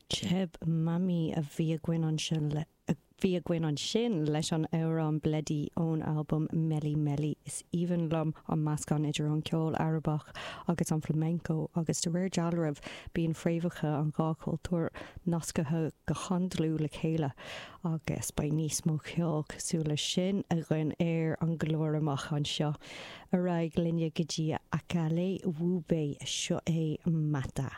Cheb Mami a bhí againn ansin le a bhí againn ansin leis an amhrán Bledi ón albam Meli Meli. Is aoibhinn liom an meascán idir an ceol Arabach agus an flamenco agus de réir dealraimh bíonn fréamhacha an dhá chultúr nasctha go han-dlúth le chéile agus beidh níos mó ceoil cosúil leis sin againn ar an gclár amach anseo. Ar aghaidh linne go dtí Akale Wube, seo é Mata.